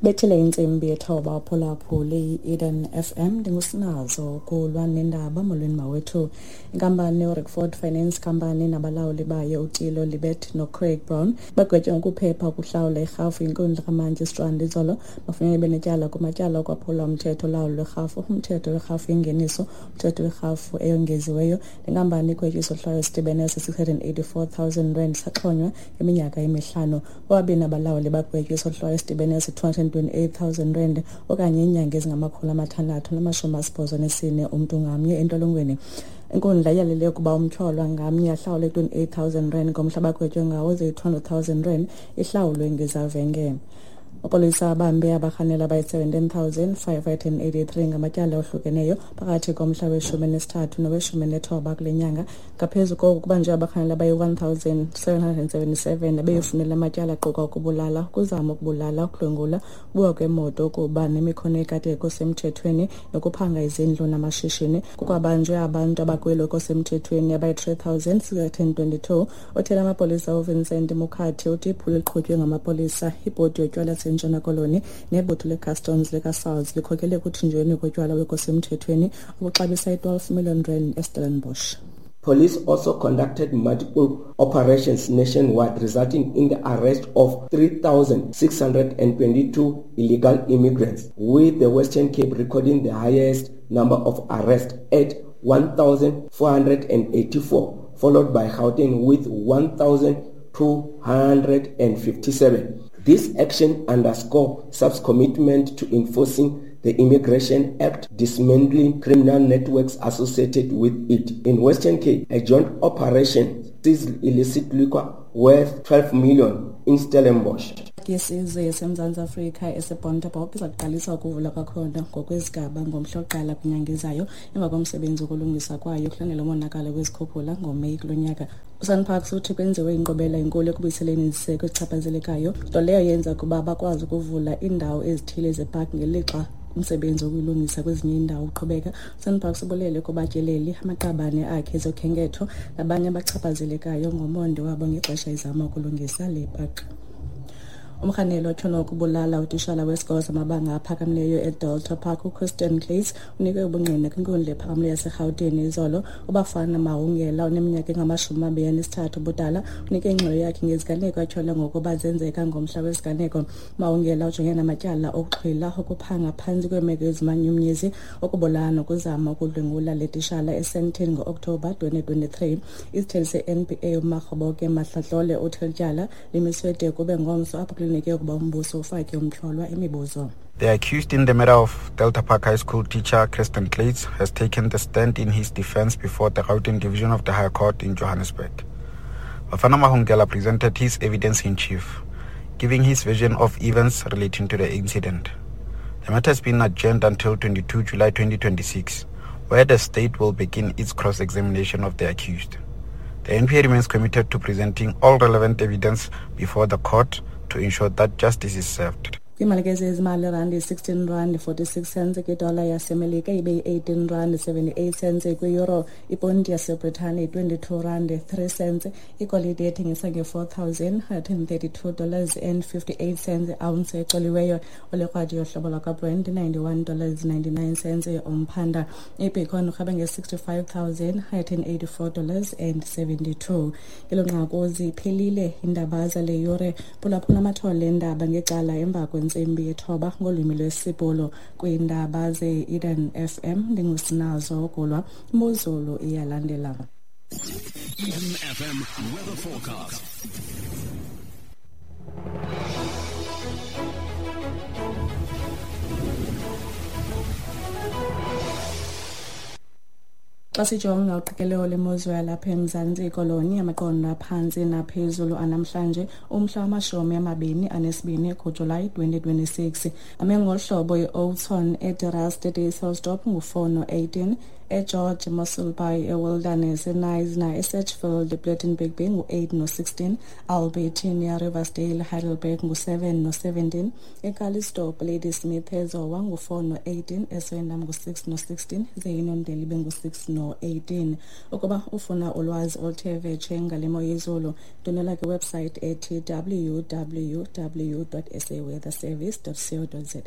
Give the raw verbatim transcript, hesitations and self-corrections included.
Bethile intsimbi yethoba uphulaphuli i-Eden F M, ndingusinazo kulwa nendaba. Molweni mawethu. Inkampani uRickford Finance Company nabalawuli bayo uTilo Libet noCraig Brown bagwetywe ngokuphepha ukuhlawula irhafu yinkundla kaMantyi Strand izolo. Bafunyenwe benetyala kumatyala okwaphula umthetho olawulo lwerhafu, umthetho werhafu yengeniso, umthetho werhafu eyongeziweyo. Le nkampani igwetywe isohlwayo esidibene se-six hundred and eighty-four thousand rand saxhonywa iminyaka emihlanu. Bobabini abalawuli bagwetywe isohlwayo esidibene se-two hundred and twenty-eight thousand rand okanye iinyanga ezingamakhulu amathandathu namashumi asibhozo nesine umntu ngamnye entolongweni. Inkundla iyalele ukuba umtyholwa ngamnye ahlawule twenty-eight thousand rand ngomhla abagwetywe ngawo, ze i-two hundred thousand rand ihlawulwe ngezavenge. Amapolisa abambe abarhanelwa abayi-seventeen thousand five hundred and eighty-three ngamatyala ohlukeneyo phakathi komhla weshumi nesithathu noweshumi nethoba kule nyanga. Ngaphezu koko, kubanjwe abarhanelwa abayi-one thousand seven hundred and seventy-seven abeyofunela amatyala aquka ukubulala, ukuzama ukubulala, ukudlwengula, ukubiwa kwemoto, ukuba nemikhono ekade kusemthethweni nokuphanga izindlu namashishini. Kukwabanjwe abantu abakwelo kosemthethweni abayi-three thousand six hundred and twenty-two. Othela amapolisa uVincent Mukhathi uthi iphulo liqhutywe ngamapolisa, ibhodi yotywala yaseNtshona Koloni nebutho leCustoms likaSARS likhokele ekuthinjweni kotywala obusemthethweni obuxabisa i-twelve million rand eStellenbosch. Police also conducted multiple operations nationwide, resulting in the arrest of three thousand six hundred twenty-two illegal immigrants, with the Western Cape recording the highest number of arrests at one thousand four hundred eighty-four, followed by Gauteng with one thousand two hundred fifty-seven. This action underscores SAPS commitment to enforcing the Immigration Act, dismantling criminal networks associated with it. In Western Cape, a joint operation seized illicit liquor worth twelve million in Stellenbosch. Yesizwe yaseMzantsi Afrika eseBontebok iza kuqalisa ukuvula kwakhona ngokwezigaba ngomhla wokuqala kwinyanga ezayo emva komsebenzi wokulungisa kwayo kulandela umonakalo wezikhukhula ngoMeyi kulo nyaka. USANPARKS uthi kwenziwe inkqubela enkulu ekubuyiseleni iziseko ezichaphazelekayo, nto leyo yenza ukuba bakwazi ukuvula iindawo ezithile zepaki ngelixa umsebenzi wokuyilungisa kwezinye iindawo uqhubeka. USANPARKS ubulele kubatyeleli, amaqabane akhe ezokhenketho nabanye abachaphazelekayo ngomonde wabo ngexesha izama ukulungisa le paki. Umrhanelwa otyholwa ukubulala utishala wesikolo samabanga aphakamileyo eDelta Park uChristian Claes unikwe ubungqina kwinkundla ephakamileyo yaseRhawutini izolo. UBafana Mahungela oneminyaka engamashumi amabini anesithathu ubudala unike ingxelo yakhe ngeziganeko atyholwa ngokuba zenzeka ngomhla wesiganeko. Mahungela ujongene namatyala okuxhwila, ukuphanga phantsi kweemeko ezimanyumnyezi, ukubulala nokuzama ukudlwengula le tishala eSandton ngo-Okthobha twenty twenty-three. Isithethi se-N P A uMakgoboke Mahlatlole uthi eli tyala limiswe de kube ngomso apho kulindeleke ukuba umbuso ufake umtyholwa imibuzo. The accused in the murder of Delta Park High School teacher Kirsten Kluyts has taken the stand in his defense before the Gauteng Division of the High Court in Johannesburg. Bafana Mahungela presented his evidence in chief, giving his version of events relating to the incident. The matter has been adjourned until twenty-two July twenty twenty-six, where the state will begin its cross-examination of the accused. The N P A remains committed to presenting all relevant evidence before the court to ensure that justice is served. Kwiimali ke zezimali, irandi sixteen rand forty-six cents kwidola yaseMelika, ibe yi-eighteen rand seventy-eight cents kwiyuro, iponti yaseBritane twenty-two rand three cents, igolide ethengisa nge-four thousand one hundred thirty-two dollars and fifty-eight cents ounce ecoliweyo, olekrwada yohlobo lwakwaBrent ninety-one dollars ninety-nine cents umphanda, ibitcoin urhabe nge-sixty-five thousand one hundred eighty-four dollars and seventy-two. Ngelo nqaku ziphelile iindaba zale yure. Phulaphula amathole endaba ngecala emva kwentsimbi yethoba ngolwimi lwesiBhulu kwiindaba ze-Eden F M. Ndingusinazo Gulwa. Imozulu iyalandela. Eden F M weather forecast. Xa sijonga uqikelelo lemozulu yalapha eMzantsi Koloni, amaqondo aphantsi naphezulu anamhlanje umhla wamashumi amabini anesibini kuJulayi twenty twenty-six ame ngolu hlobo: i-Oudtshoorn eDe Rust eDysselsdorp ngu-four no-eighteen, eGeorge, Mossel Bay, eWilderness, eKnysna, eSedgefield, ePlettenberg Bay ngu-eight no-sixteen, Albertinia, Riversdale, Heidelberg ngu-seven no-seventeen, eCalistope, Ladysmith, eZowa ngu-four no-eighteen, eSwendam ngu-six no-sixteen, ze iNondeli ibe ngu-six no-eighteen. Ukuba ufuna ulwazi oluthe vetshe ngale mo yezulu, ndwendwela kwiwebsite ethi w w w dot s a weather service dot co dot za.